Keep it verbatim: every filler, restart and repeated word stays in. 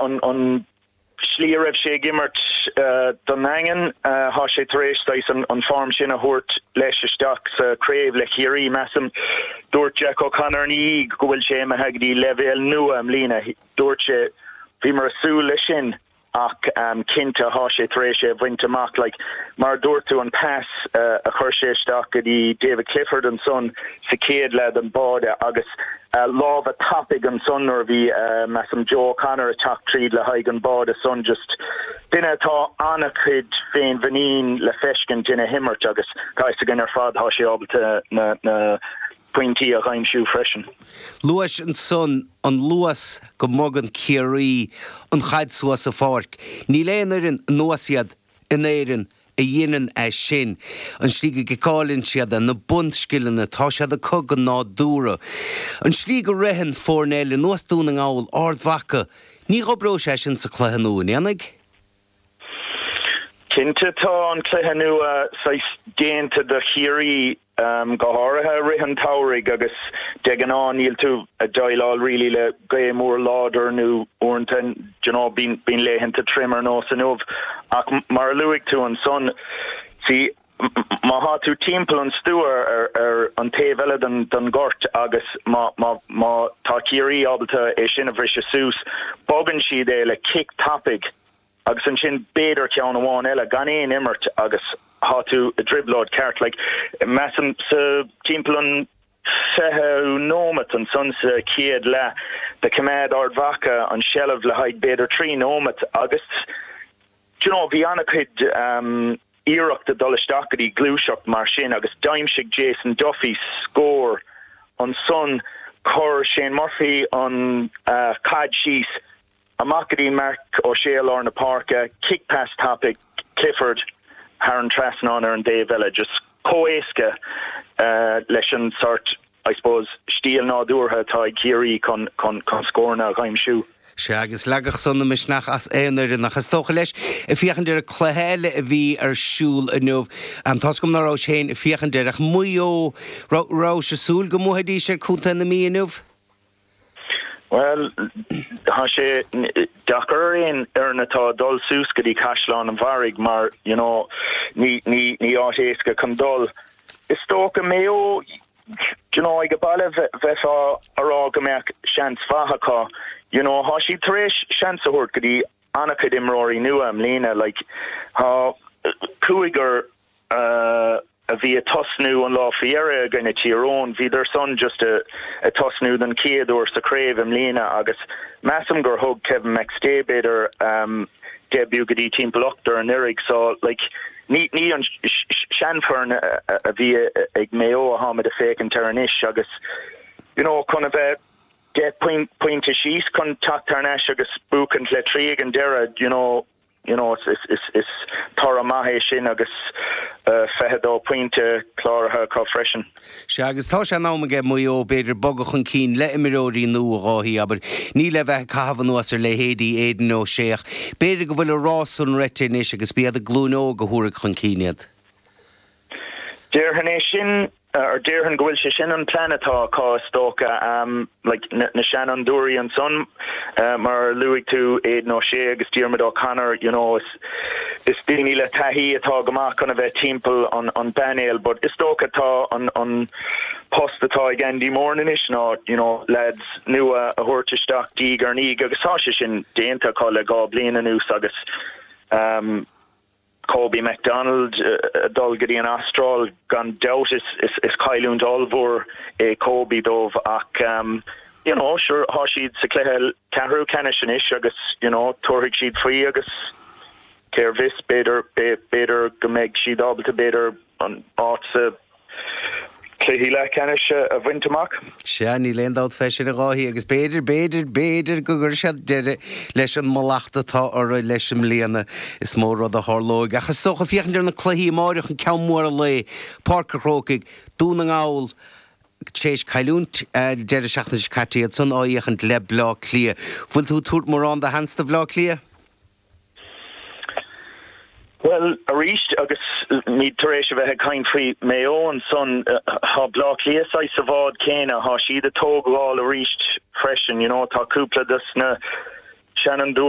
an an slí a raibh sé ag imirt uh, don Daingean uh, thá sé tar éis an, an form sin a thabhairt leis isteach sa craobh le Ciarraí measaim dúirt Jack O'Connor ní go bhfuil sé imithe go dtí leibhéal nua i mbliana dúirt sé bhíomar ag súil leis sin ach um, cinnte thá sé tar éis é bhaint amach like, mar dúirt tú an pas uh, a chuir sé isteach go dtí David Clifford ansan sa chéad leath an báide agus uh, lámh tapaidh ansan nuair bhí uh, measaim Joe O'Connor ag teacht tríd le haghaidh an báide san just duine atá an-chuid féinmhuinín le feiscint ina imirt agus tá gan ar fad thá sé ábalta na, na pointí a aimsiú freisin. Luas ansan an luas go mbogann Ciarraí an chaid suas sa pháirc. Níl aon fhoireann anuas iad in Éirinn a dhéanann é sin. An slí go gciceálann siad na bunscileanna tá siad acu go nádúrtha. An slí go ritheann foirne ar nós Dún na nGall Ard Mhacha, ní oibreoidh sé sin sa chluiche nua ndéanaigh? Cinnte tá an cluiche nua déanta do Chiarraí um, go háirithe rith an tsamhraidh agus de ghnáth níl tú ag déileáil really le gaoth mór láidir nó uaireanta you know, bíonn bíonn laethanta tirim ar nós inniu ach mar a luaigh tú ansan sí má thá tú timpeall an stua ar, ar an taobh eile den, den gort agus má, má, má tá Ciarraí ábalta é sin a bhriseadh suas, bogann siad é le cic tapaidh agus ansin b'fhéidir ceann amháin eile gan aon imirt agus thá tú i dtrioblóid ceart like, measaim sa timpeall an fiche nóiméad ansan sa chéad leath do choimeád Ard Mhacha an seilbh le haghaidh b'fhéidir trí nóiméad agus you know, bhí an-chuid um, iarracht dul isteach go dtí gluaiseacht mar sin agus d'aimsigh Jason Duffy scór ansan chuir Shane Murphy an uh, chaid síos amach go dtí Marc Ó Sé lár na páirce, kick pass tapaidh Clifford thar an trasnán ar an dtaobh eile just chomh héasca uh, leis an sort I suppose stíl nádúrtha atá ag Ciarraí chun chun chun scóranna a aimsiú. Sé agus leagfadh san na misneach as aon fhoireann nach is dócha leis ag féachaint ar cluiche eile a bhí ar siúl inniu Tá gom ná raibh féin ag féachaint air ach Maigh Eo raibh sé súil go mbuafaidís ar Chontae na Mí inniu? Well thá sé deacair aon fhoireann atá dul suas go dtí Caisleán an Bharraigh mar you know, ní ní ní áit éasca chun dul. Is dócha Maigh Eo you know, ag baile bheith ag rá go mbeadh seans mhaith acu you know, thá siad tar éis seans a thabhairt go dtí an-chuid imreoirí nua i mbliana like, thá cúigear uh, a bhí ag tosnú an lá féire ganna Tyrone, bhíodar san just a, ag tosnú den chéad uair sa chraobh i mbliana agus measaim gur thug Kevin McStay b'fhéidir um, debut go dtí timpeall ochtar anuraidh so like, ní ní an seanfhoireann a bhí ag Maigh Eo a tháimid ag féachaint air anois agus you know, chun a bheith deich pointe síos chun teacht thar n-ais agus buachaint le trí ag an deireadh you know, you know, is, is, is toradh maith é sin agus uh, fiche dó pointe cláraithe acu freisin. Sé agus tá sé in am ag Maigh Eo b'fhéidir bogadh chun cinn le imreoirí nua Dháithí abair ní le bheith caitheamh anuas ar leithéidí Aidan O'Shea. B'fhéidir go bhfuil a rás san rite anois agus b'iad a glúin óg a thabharfaidh chun cinn iad. Déarfainn é sin ar déarfainn go bhfuil sé sin an plean atá acu is dócha um, like, na, na seanfhondúirí ansan uh, mar luaigh tú Aidan O'Shea agus Diarmuid O'Connor you know, is, is daoine le taithí atá go maith chun a bheith timpeall an, an bpainéal, but is dócha tá an, an post atá ag Andy Moore anois ná you know, lads nua a thabhairt isteach diaidh ar ndiaidh agus tá sé sin déanta acu le dhá bliain anuas agus um, Kobe McDonald uh, dul go dtí an Astráil gan dabht is, is, is cailliúint ollmhór é Kobe dóibh ach um, you know, sure thá siad sa chluiche ceathrú ceannais anois agus you know, tabharfaidh siad faoi agus cé bhfios b'fhéidir b'fhéidir go mbeidh siad ábalta b'fhéidir an áit sa cluiche leathcheannais a bhaint amach. Sé ní léon dát fe sin a gáhí agus b'fhéidir b'fhéidir b'fhéidir go gcuirfidh siad deireadh leis an mallacht atá orthu leis an mbliana is mó rud a tharlóidh. Ach is dócha féachaint ar na cluichí amárach an ceann mór an lae Páirc an Chrócaigh Dún na nGall tar éis cailliúint deireadh seachtaine seo caite iad san áíochant le Bleá Cliath. Bhfuil tú tabhairt mórán de sheans do Bhleá Cliath? Well arís agus ní tar éis a bheith ag caint faoi Maigh Eo ansan thá Bleá Cliath sa bhád céanna thá siad ag tógáil arís freisin you know, tá cúpla dos na Seanfhondúirí.